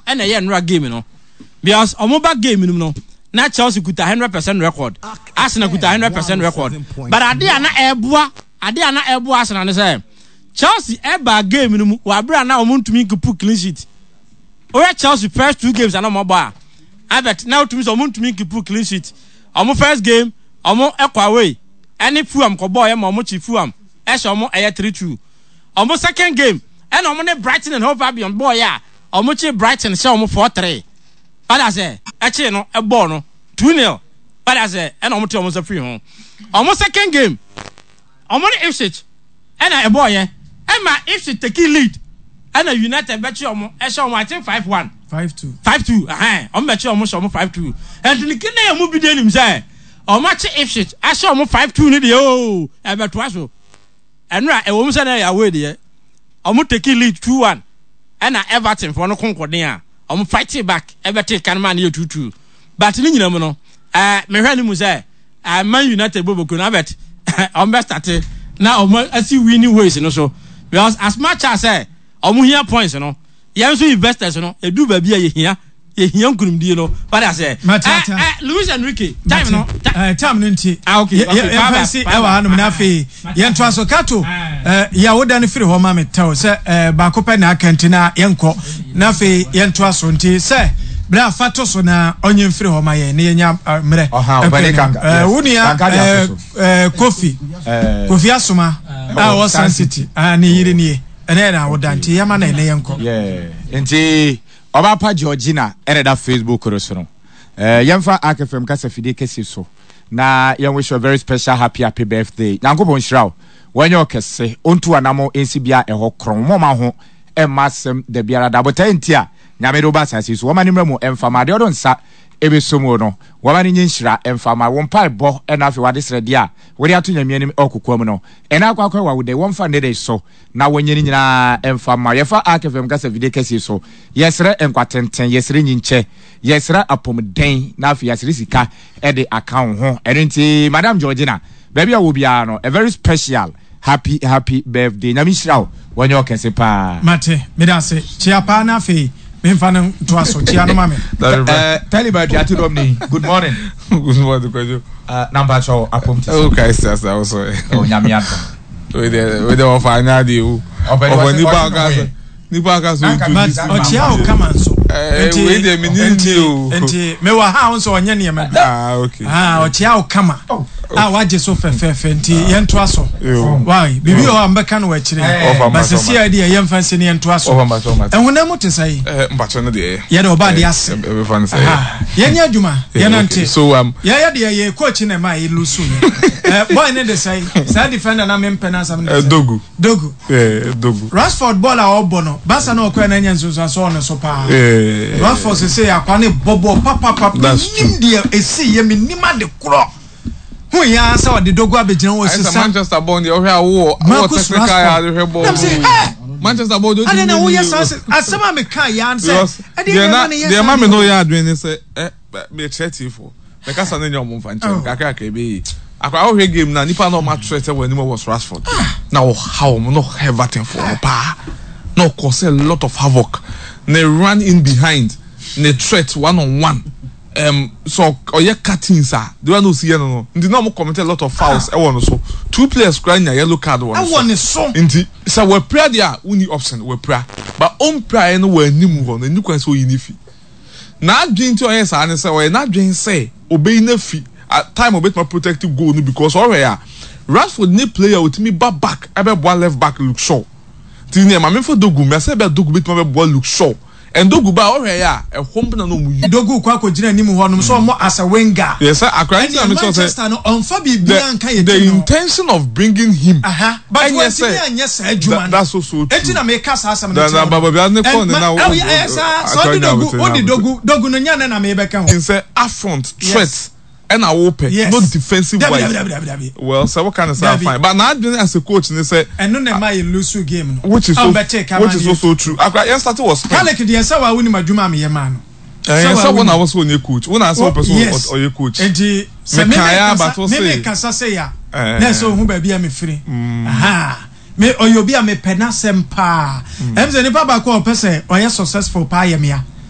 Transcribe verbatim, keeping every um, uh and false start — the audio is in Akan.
Ɛna ɛyɛ nnora game no because ɔmo ba game no mu no, na Chelsea kuta hundred percent record, Arsenal kuta hundred percent record, but ade a na ɛboa ade a na ɛboa Arsenal ne sɛ Chelsea ɛba game no mu wɔ abere a na ɔmo ntumi nkeep clean sheet. Oyɛ Chelsea first two games a na ɔmo bɔ a abet na otumi sɛ ɔmo ntumi nkeep clean sheet. Ɔmo first game, ɔmo ɛkɔ away ɛne Fulham kɔ bɔɔl yɛ ma ɔmo kyi Fulham ɛhyɛ ɔmo, ɛyɛ three two. Ɔmo second game ɛna ɔmo ne Brighton and Hove Albion bɔɔl yɛ a ɔmo kyi Brighton hyɛ ɔmo four three. Ɔda sɛ ɛkyi no ɛbɔɔ no two nil. Ɔda sɛ ɛna ɔmo te ɔmo nsa firi ho. Ɔmo second game, ɔmo ne Ipswich ɛna ɛbɔɔ yɛ ɛma Ipswich take lead, ɛna United bɛkyi ɔmo ɛhyɛ ɔmo, I think five one. Five two. Five two, ɛhɛn, ɔmo bɛkyi ɔmo hyɛ ɔmo five two. Ɛnti ne kí ne yɛ mu bi de nim sɛ ɔmo akyi Ipswich ahyɛ ɔmo five two ne deɛ ooo, ɛbɛtoa so. Ɛnura ɛwɔ mu sɛ ne yɛ away deɛ, ɔmo take lead two one, ɛna Everton foɔ no konkoden a ɔmo fight back ɛbɛte kan maa ne yɛ two two. But ne nyina mu no, ɛɛ mehwɛ ne mu sɛ ɛɛ Man United bɔ boko na abɛt ɔmo bɛ start na ɔmo asi winning ways no so, because as much as ɛ ɔmo hia points no, yɛn nso investors no edu baabi a yɛhia yɛhia nkunimdie no wade asɛ. Mate, ɛ ate. ɛ Luis Enrique time no ta- Eh, time no nti Ah, okay, okay, yɛmfa bye-bye, si bye-bye. ɛwɔ hanom na afei yɛntoa so. Kato, eh, yɛ woda no firi hɔ ma me tɛw sɛ eh, baako pɛ na aka nti na yɛnkɔ na afei yɛntoa so. Nti sɛ berɛ a fa to so na ɔnyɛ mfiri hɔ ma yɛn na yɛnya eh, mmerɛ. Ɔha, Ɛnkɔ ɔbɛne anim. Kanka, Eh, yes. wo nua Kanka de eh, ato so. eh, Kofi Eh, Kofi Asoma a ɔwɔ Sun City, ah, ne yere nie, ɛnɛ yɛ na woda nti yɛma na ɛnɛ yɛnkɔ. Yeah. Nti ɔbaapa Georgina ɛna da Facebook no so no, eh, yɛmfa Ark F M kasa fidie kɛse so na yɛn wish you a very special happy happy birthday. Nyankopɔn nhyira wo, wɔnyɛ ɔkɛse, ɔntu anamo nsi bia ɛhɔ korɔn mɔma ho ɛmma asɛm da biara da botae nti a Nyame de woba asase yi so, wɔma ne mmerɛ mu ɛmfa ma adeɛ ɔdo nsa ɛbɛso mu no, wɔma no nye nhyira ɛmfa ma wo mpaebɔ, ɛna afei wade srɛdeɛ a wode ato Nyame anim ɛwɔ mu no, ɛna akɔ akɔ ɛwɔ wo dɛ wɔmfa nnɛ dɛ so na wɔnyɛ no nyinaa ɛmfa ma. Yɛfa Ark F M kasa fidie kɛseɛ so, yɛsrɛ nkwa tenten, yɛsrɛ nyinkyɛ, yɛsrɛ apɔmuden, na afei yɛsrɛ sika ɛde aka wo ho. Ɛno nti Madam Georgina, baabi a wɔ biara no, a very special happy happy birthday. Nyame nhyira wo, wɔnyɛ ɔkɛse paa. Mate, meda ase. Kyia paa na afei memfa no ntoa so. Kyia no ma me. Eh, Taliban Tuate dɔm ni, good morning. Good morning, Kwadwo. Uh, na mpakyɛw, apɔm te sɛ? Oh, Christ, that's also. Oh, Nyame adom. Wei de wei de ɔfa anya adeɛ o. Ɔpɛ Ɔfa ɔse- nipa ɔse aka ne ho sɛ yɛ. nipa aka sɛ Nanka But introduce ɔkyia wo kama nso. Eh, Nti- wei deɛ menni nti ni o. Nti mewɔ ha a wo nso ɔnyɛ nneɛma bi. Ah, okay. Ah, ɔkyia wo kama a wagye so fɛfɛɛfɛ, nti yɛntoa so. Yo. Wai biribi wɔ hɔ a mbɛka no wɔ akyire. Ɔfa ba mba sɛsi a deɛ yɛmfa nsi ne yɛntoa so. Ɔfa mba so ɔma. Ɛhonam mu te sɛ yi? Eh, mpakyɛ no deɛ. Yɛde ɔba de ase. Ɛbɛfa no sɛ. Aha. Yɛnyɛ adwuma. Yeah, yɛnante. okay. So um yɛyɛ deɛ yɛ coach na ɛma yɛ lose yɛ. Eh, boy ne de sɛ saa defender na mempɛ no asɛm ne eh, sɛ Dogu. Dogu. Yeah, Dogu. Rashford bɔɔl a ɔbɔ no, Barca na ɔkɔɛ na anya nsonsanso ɔno so paa. Yeah. Rashford sese akwa ne bɔbɔ papapapa. That's Menim deɛ esi yɛ, menim ade korɔ hu yɛn sɛ ɔde Dogu abɛgyina hɔ Ayɛ sɛ sisa Manchester bɔɔl deɛ, ɔhwɛ a wowɔ wowɔ Marcus technical Rashford. yɛ ade hwɛ bɔɔl. Nam sɛ, "Hey!" Manchester bɔɔl deɛ ade na otumi woyɛ nye saa o. sɛ asɛm a meka yɛn sɛ Because ɛdeɛ deɛ na na ɛma ne yɛ deɛ saa ma me deɛ. no yɛ adwene ne sɛ ɛ mekyerɛ tiefo mɛkasa ne nyɛ ɔmo mfa nkyɛn Oh. kakra kakra ebe yi akora wohwɛ game na nipa na ɔmo atwerɛ sɛ wɔ anim wɔ Rashford na ɔha wɔn na ɔha Everton fo no paa na ɔkɔ sɛ a lot of havoc ne run in behind ne threat one on one, um, so ɔyɛ cuttings a the one osi yɛ no no nti na ɔmo commit a lot of fouls ɛwɔ no so. Two players kora nya yellow card wɔ ɛwɔ ne so. Nti sɛ wɔapira deɛ a, wonni option, wɔapira, but ɔmpira yɛ no wɔ anim hɔ no, ɛni kwan sɛ oyi ne fi. N'adwene nti ɔyɛ saa ne sɛ ɔyɛ n'adwene sɛ obeyi ne fi at time obetuma protect goal no, because ɔhwɛ a Rashford ne player otumi ba back ɛbɛboa left back Luke Shaw. Nti nea maame fo Dogu mbɛ sɛ ɛbɛ Dogu betuma bɛboa Luke Shaw, and Dogu ba ɔhwɛ yɛ a ɛhɔ mpo na na ɔmo yi. Dogu kɔ akɔgyina anim hɔ nom sɛ ɔmo as a winger. Yɛ sɛ akora nti na ɛnna mi sɔ sɛ Manchester no ɔnfa biribiara nka yɛ the team no. Intention of bringing him. Aha, but ɛnyɛ wɔntumi sɛ anyɛ saa adwuma no. That's also true. Eti na meka saa asɛm no Da- kyerɛ na wo. Baba Bia ne kɔɔ ne And na ma- wo- ɛyɛ- ɛyɛ saa sɛ ɔde atwa Dogu nya ɔde abotire. Dogu Dogu no nya ne na mebɛka ho. Sɛ upfront threat Yes. ɛna wopɛ, Yes. no defensive Dabi, wise. dabi, dabi, dabi. Well, sɛ woka ne saa, Dabi. fine, but n'adwene as a coach ne sɛ ɛno na ɛma yɛ lose game no. Which is so Ɔmbɛte kama which is ne also true. Akora yɛn start wɔ Spain. Kalik deɛ, sɛ wa wonim adwuma a meyɛ maa no. Ɛyɛ wa sɛ wo na wonim. wo sɛ ɔnyɛ coach, wo na sɛ wopɛ sɛ Yes. ɔyɛ coach. Nti sɛ Mekaeɛ meme aba kasa to meme se- kasa sɛ ya Eh. na ɛsɛ ohun baabi a mefiri. Aha. Me ɔyɛ obi a mepɛ n'asɛm paa. Ɛm sɛ nipa baako a ɔpɛ sɛ ɔyɛ successful paa yɛ mea.